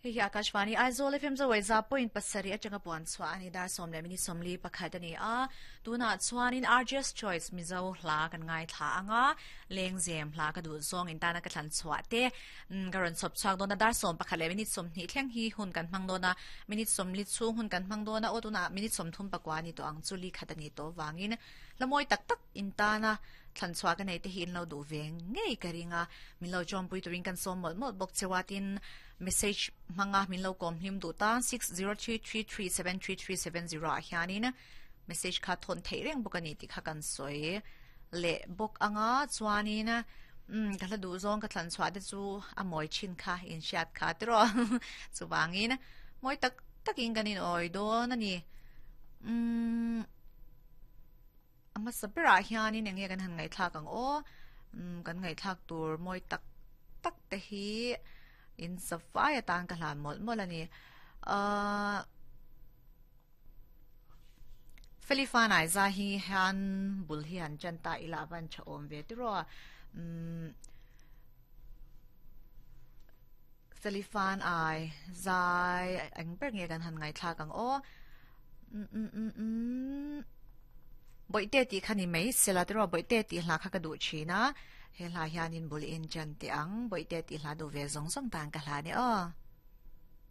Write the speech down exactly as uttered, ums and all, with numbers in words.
Hei hi Akashvani Aizawl F M Zawai za point pasarih atanga puan chhuah a ni dar sawm leh minute sawmli pakhat a ni a. Tunah chuanin R J S Choice Mizo hla kan ngaithla anga lengzem hla ka duh zawng in tana ka thlan chhuah te ka rawn chhawp chhuak dawn a dar sawm pakhat leh minute sawmhnih thleng hi hun kan hmang dawn a minute sawmli chhung hun kan hmang dawn a aw tunah minute sawmthum pakua a ni tawh ang chu li khat a ni tawh vangin hla mawi tak tak in tana thlan chhuah ka nei te hi in lo duh ve ngei ka ring a min lo chawmpui turin kan sawm mawlh mawlh bawk chewa tin message hmanga min lo kawm hlim duh ta six zero three three three seven three three seven zero ah hianin message kha thawn theih reng bawk ani tih kha kan sawi leh bawk anga chuanin um ka hla duh zawng ka thlan chhuah te chu a mawi thin kha in hriat kha tiraw chuwangin mawi tak takin kan in awi dawn ani um ama sabira hianin enge kan han ngai thlak ang aw um kan ngai thlak tur mawi tak tak te hi in safai atan ka hlan mawlh mawlh ani uh Felifan ai za hi hian bul hi han chan ta ila van tha awm ve tiraw um Felifan ai zai eng ber nge kan han ngai thlak ang aw um um um um boite ti khani mai sela tiraw boite ti hla kha ka duh thina he hla hianin bul in chan te ang boite ti hla du ve zong zong tan ka hla ni aw.